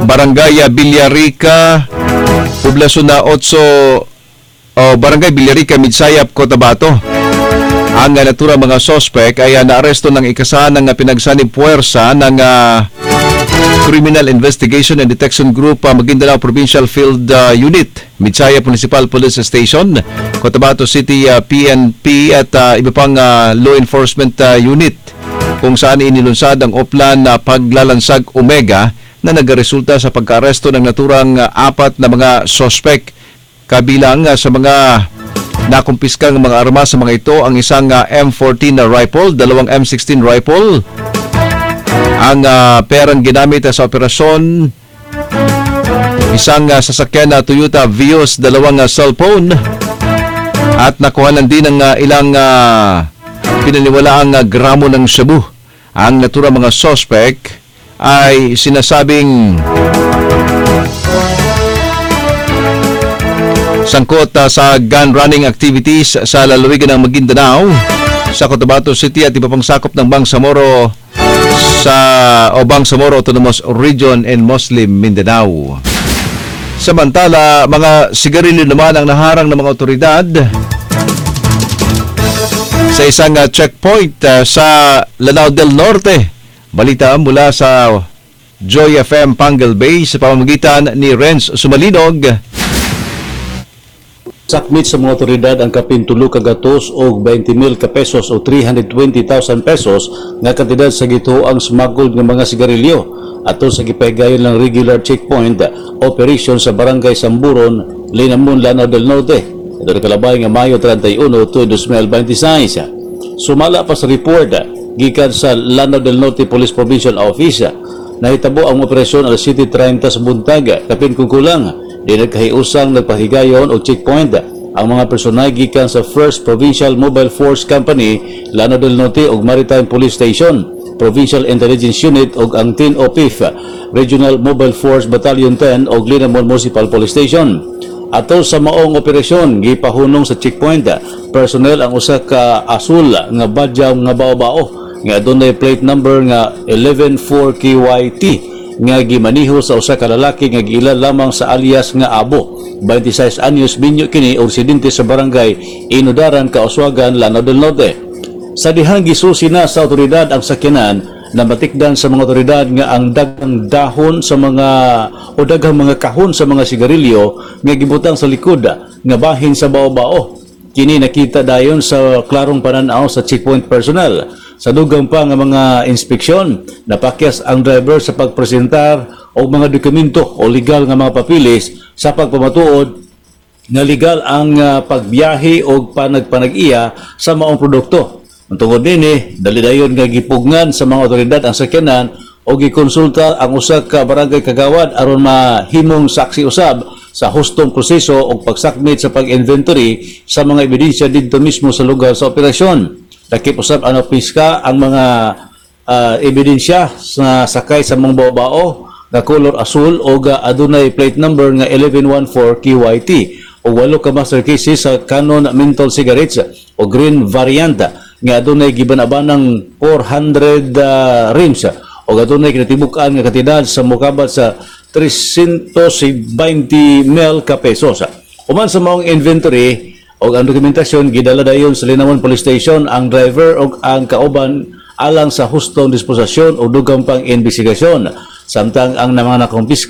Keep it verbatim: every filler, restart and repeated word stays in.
Barangay Villarica, Poblasyon na otso o Barangay Villarica, Midsayap, Cotabato. Ang uh, naturang mga sospek ay uh, naaresto ng ikasahan ng uh, pinagsanib puwersa ng uh, Criminal Investigation and Detection Group, uh, Maguindanao Provincial Field uh, Unit, Midsayap Municipal Police Station, Cotabato City uh, P N P at uh, iba pang uh, law enforcement uh, unit kung saan inilunsad ang Oplan na Paglalansag Omega na nagresulta sa pagkaaresto ng naturang uh, apat na mga sospek. Kabilang uh, sa mga nakumpiskang mga armas sa mga ito ang isang uh, M fourteen na rifle, dalawang M sixteen rifle, ang uh, perang ginamit sa operasyon, isang uh, sasakyan na Toyota Vios, dalawang uh, cellphone, at nakuhanan din ng uh, ilang uh, pinaniwalaang uh, gramo ng shabu. Ang naturang mga suspect ay sinasabing sangkot uh, sa gun running activities sa lalawigan ng Maguindanao, sa Cotabato City at iba pang sakop ng Bangsamoro sa o Bangsamoro Autonomous Region and Muslim Mindanao. Samantala, mga sigarilyo naman ang naharang ng mga otoridad sa isang uh, checkpoint uh, sa Lanao del Norte. Balita mula sa Joy F M Panguil Bay sa pamamagitan ni Renz Sumalinog. Sakmit sa mga otoridad ang kapin tulo ka gatos og twenty mil ka pesos o three hundred twenty thousand pesos nga kantidad sa gituoang smuggled nga mga sigarilyo ato sa gipahigayon lang regular checkpoint operation sa Barangay Samburon, Linamon, Lanao del Norte. Ito nakalabay nga Mayo thirty-one to twenty twenty-six. Sumala pa sa report gikan sa Lanao del Norte Police Provincial Office, nahitabo ang operasyon alas siyete treinta sa buntag, kapin kung kulang, di nagkahiusang nagpahigayon og checkpoint ang mga personay gikan sa first Provincial Mobile Force Company, Lanao del Norte ug Maritime Police Station, Provincial Intelligence Unit ug ang ten O P I F, Regional Mobile Force Battalion ten ug Linamon Municipal Police Station. Ato sa maong operasyon, gipahunong sa checkpoint personnel ang usa ka asul nga Bajau nga bao-bao nga adunay plate number nga one one four K Y T nga gimaniho sa usa ka lalaki nga giila lamang sa alias nga Abo. twenty-six anyos minyo kini og residente sa Barangay Inudaran, Kauswagan, Lanao del Norte. Sa dihang gisusi na sa otoridad ang sakyanan, na matikdan sa mga otoridad nga ang daghang dahon sa mga o daghang mga kahon sa mga sigarilyo nga gibutang sa likod nga bahin sa bao-bao. Kini nakita dayon sa klarong pananaw sa checkpoint personnel. Sa dugang pa nga mga inspeksyon, napakyas ang driver sa pagpresentar og mga dokumento o legal nga mga papilis sa pagpamatuod nga legal ang ah, pagbiyahe o panagpanag-iya sa maong produkto. Ang tungod nini, dali dayon nga gipugngan sa mga otoridad ang sakyanan o gikonsulta ang usa ka barangay kagawad aron mahimong saksi usab sa hustong proseso og pagsakmit sa pag-inventory sa mga ebidensya didto mismo sa lugar sa operasyon. Dakip usab ang piska ang mga ah, ebidensya sa sakay sa mga bao-bao nga color asul o ga adunay plate number nga one one one four K Y T o walo ka master cases sa Canon menthol cigarettes o green variant nga adunay gibanabanang four hundred uh, rims o adunay kinatibuk-an nga kantidad sa mokabat sa three hundred twenty mil ka pesos. Human sa maong inventory og ang dokumentasyon, gidala dayon sa Linamon Police Station ang driver og ang kauban alang sa hustong disposisyon o dugang pang investigasyon. Samtang ang mga nakumpiska